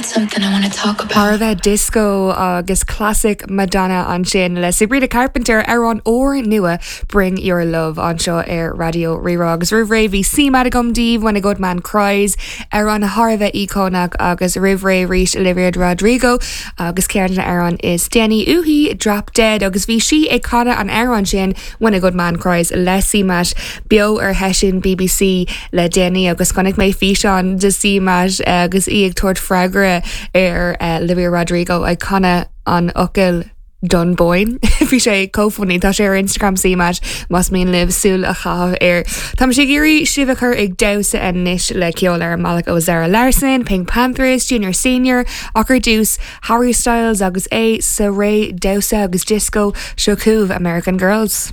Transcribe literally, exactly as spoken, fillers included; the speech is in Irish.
Something I want to talk about. Thar a bheith disco agus classic Madonna ansin le Sabrina Carpenter ar an úrnua Bring Your Love anseo ar Raidió Rí-Rá agus roimh ré bhí CMAT agam daoibh When a Good Man Cries ar an thar a bheith íocónach agus roimh ré arís Olivia Rodrigo agus ceann ar an is déanaí uaithi Drop Dead agus bhí sí ag canadh an amhrán sin When a Good Man Cries le CMAT beo ar sheisiún BBC le déanaí agus chonaic mé físeán de CMAT agus í ag tabhairt freagra ar uh, Olivia Rodrigo ag canadh an fhocail Dunboyne. Bhí sé chomh funny tá sé ar Instagram CMAT más mian libh súil a chaitheamh air. Tá sé géirí sibh a chur ag damhsa anois le ceol ar an mbealach ó Zara Larsson, PinkPantheress, Junior Senior, ach ar dtús Harry Styles agus é sa ré damhsa agus disco seo chugaibh American Girls.